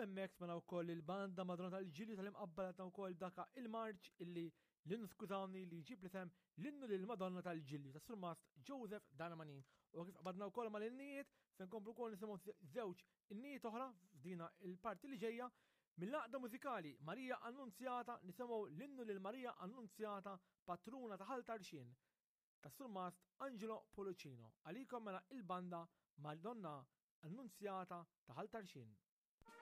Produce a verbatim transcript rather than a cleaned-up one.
Hemmhekk smajna wkoll il-banda Madonna tal-Ġilju tal-Imqabba ta' wkoll daka il-marċ illi l-innu, skużawni, li jġib l-isem l-innu lil Madonna tal-Ġilju ta' Surmast Joseph Darmanin. U kif qbadna wkoll mal-innijiet, se nkomplu wkoll nisimgħu żewġ innijiet oħra f'dina il-parti li ġejja mill-Għaqda Mużikali Marija Annunzjata. Nisimgħu l-innu lil Marija Annunzjata, patruna ta' Ħal Tarxien, ta' Surmast Angelo Pollicino. Għalikom mela il-banda Madonna Annunzjata ta' Ħal Tarxien.